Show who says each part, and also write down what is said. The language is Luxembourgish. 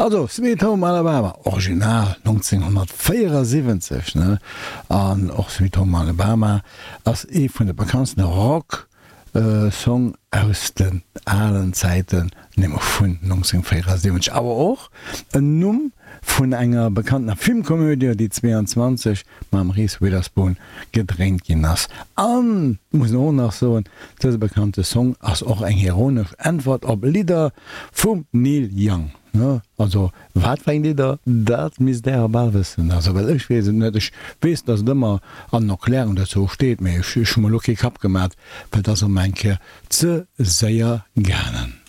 Speaker 1: Also, Sweet Home Alabama, Original 1974, ne? An och Sweet Home Alabama ass ee vun de bekanntsten Rock Song aus den alen Zäiten, nämlech vun 1974, awer och en Numm vun enger bekanntener Filmkomödie, déi 22 mam Reese Witherspoon gedréint ginn ass. An, muss een och nach soen, dëse bekannte Song ass och eng ironesch Äntwert op Lidder vum Neil Young. Also wat fir eng Lidder, dat misst Där bal wëssen. Also well ech weess et net. Ech weess, datt et ëmmer an den Erklärungen dozou steet, mee ech hu mer elo kee Kapp gemat, well et ass ëmmer eng Kéier ze séier gaangen.